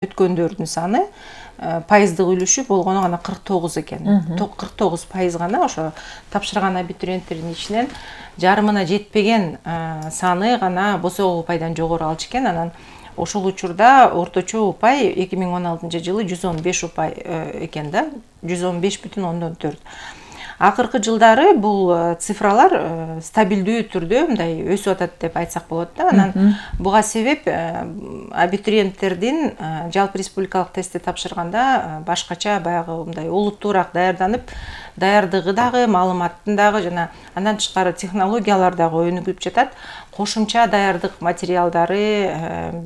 өткөндөрдүн саны пайыздык үлүшү болгону гана 49 экен. 49% гана ошо тапшырган абитуриенттердин ичинен жарымына жетпеген саны гана босогуу упайдан жогору алчу экен. Анан ошол учурда орточо упай 2016-жылы 115 упай экен да, 115,4. Акыркы жылдары бул цифралар стабилдүү түрдө мындай өсүп атат деп айтсак болот да. Анан буга себеп абитуриенттердин жалпы республикалык тестти тапшырганда башкача баягы мындай олуттуураак даярдыгы дагы, маалыматтын дагы жана андан тышкары технологиялар дагы өнүгүп жатат. Кошумча даярдык материалдары,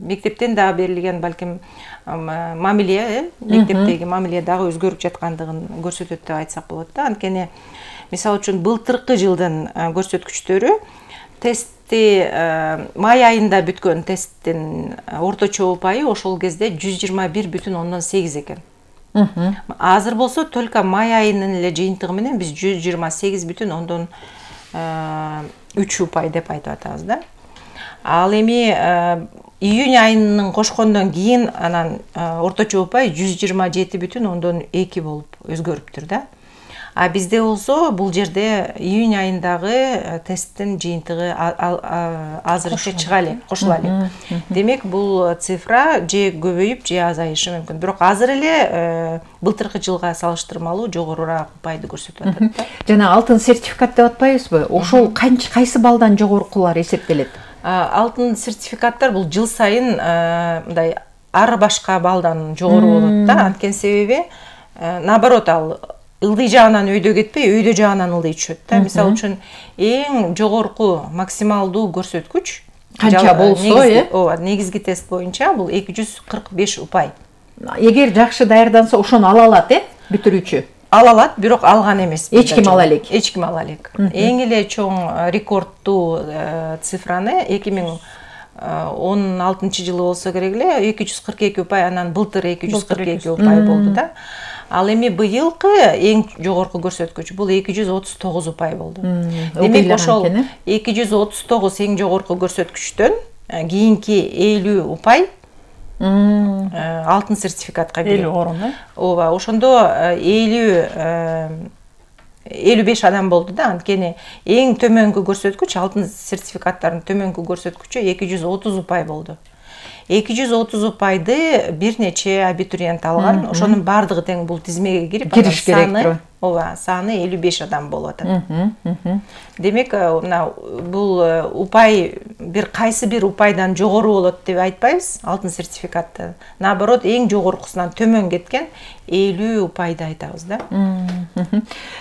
мектептен дагы берилген балким мамиле, мектептеги мамиле дагы өзгөрүп жаткандыгын көрсөтөт деп айтсак болот да. Анткени мисалы үчүн былтыркы жылдын көрсөткүчтөрү тестти май айында бүткөн тесттин орточо упайы ошол кезде 121,8 экен. Азыр болсо только май айынын эле жыйынтыгы менен биз 128,3 упай деп айтып атабыз да. Ал эми июнь айынын кошкондон кийин анан орточо упай 127,2 болуп өзгөрүптүр да. А бизде болсо бул жерде июнь айындагы тесттин жыйынтыгы азырынча чыга элек, кошула элек. Демек бул цифра же көбөйүп, же азайышы мүмкүн. Бирок азыр эле былтыркы жылга салыштырмалуу жогорураак упайды көрсөтүп атат да. Жана алтын сертификат деп атпайбызбы? Ошол кайсы балдан жогоркулар эсептелет? Алтын сертификаттар бул жыл сайын мындай ар башка балдан жогору болот да. Анткени себеби наоборот ал ылдый жагынан өйдө кетпей, өйдө жагынан ылдый түшөт да. Мисалы үчүн эң жогорку максималдуу көрсөткүч канча болсо, ооба, негизги тест боюнча бул 245 упай. Эгер жакшы даярданса, ошону ала алат, бүтүрүүчү? Ала алат, бирок алган эмес. Эч ким ала элек. Эч ким ала элек. Эң эле чоң рекордтуу цифраны 2016-жылы болсо керек эле 242 упай, анан былтыр 242 упай болду да. Ал эми быйылкы эң жогорку көрсөткүч бул 239 упай болду. Демек ошол 239 эң жогорку көрсөткүчтөн кийинки 50 упай алтын сертификатка кирет. 50 орун, ооба, ошондо 55 адам болду да. Анткени эң төмөнкү көрсөткүч, алтын сертификаттардын төмөнкү көрсөткүчү 230 упай болду. 230 упайды бир нече абитуриент алган. Ошонун бардыгы тең бул тизмеге кирип, кириш керек. Ооба, саны 55 адам болуп атат. Демек, бул упай кайсы бир упайдан жогору болот деп айтпайбыз, алтын сертификатты. Наоборот, эң жогоркусунан төмөн кеткен 50 упайды айтабыз да.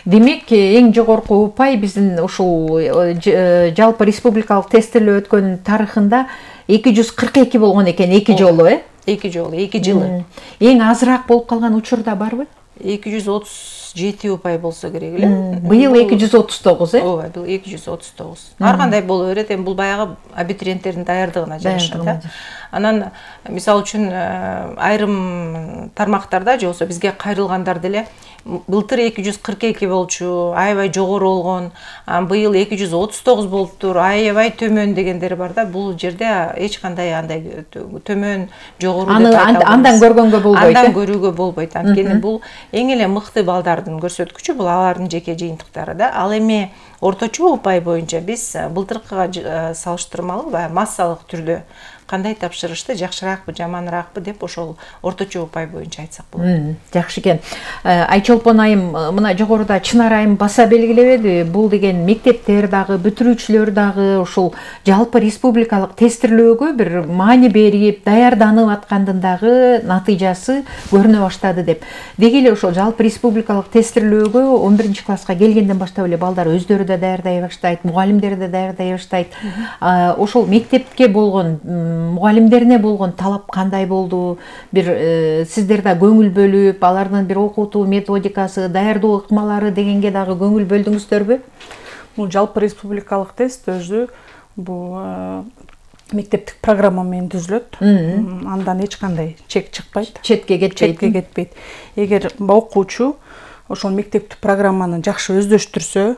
Демек, эң жогорку упай биздин ушул жалпы республикалык тесттелүү өткөн тарыхында 242 болгон экен, 2 жолу, 2 жолу, 2 жылы. Эң азыраак болуп калган учурда барбы? 237 упай болсо керек эле. Быйыл 239, Ооба, бул 239. Ар кандай боло берет, эми бул баягы абитуриенттердин даярдыгына жараша да. Анан мисалы үчүн айрым тармактарда же болсо бизге кайрылгандар деле былтыр 242 болчу, аябай жогору болгон, быйыл 239 болуптур, аябай төмөн дегендер бар да. Бул жерде эч кандай андай төмөн, жогору деп айта албайбыз. Андан көргөнгө болбойт. Андан көрүүгө болбойт. Анткени бул эң эле мыкты балдардын көрсөткүчү, бул алардын жеке жыйынтыктары да. Ал эми орточо упай боюнча биз былтыркыга салыштырмалуу массалык түрдө кандай тапшырышты, жакшыраакпы, жаманыраакпы деп ошол орточо упай боюнча айтсак болот. Жакшы экен. Айчолпон айым мына жогоруда Чынар айым баса белгилебеди, бул деген мектептер дагы, бүтүрүүчүлөр дагы ушул жалпы республикалык тестирлөөгө бир маани берип, даярданып аткандын дагы натыйжасы көрүнө баштады деп. Деги эле ошол жалпы республикалык тестирлөөгө 11-класска келгенден баштап эле балдар өздөрү да даярдай баштайт, мугалимдер да даярдай баштайт. Ошол мектепке болгон мугалимдерине болгон талап кандай болду? Бир сиздер да көңүл бөлүп, алардын бир окутуу методикасы, даярдоо ыкмалары дегенге дагы көңүл бөлдүңүздөрбү? Бул жалпы республикалык тест өзү бул мектептик программа менен түзүлөт. Андан эч кандай чек чыкпайт, четке кетпейт. Эгер окуучу ошол мектептик программаны жакшы өздөштүрсө,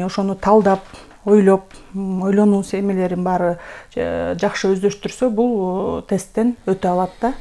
ошону талдап, ойлонуу эмелерин баары жакшы өздөштүрсө, бул тесттен өтө алат да.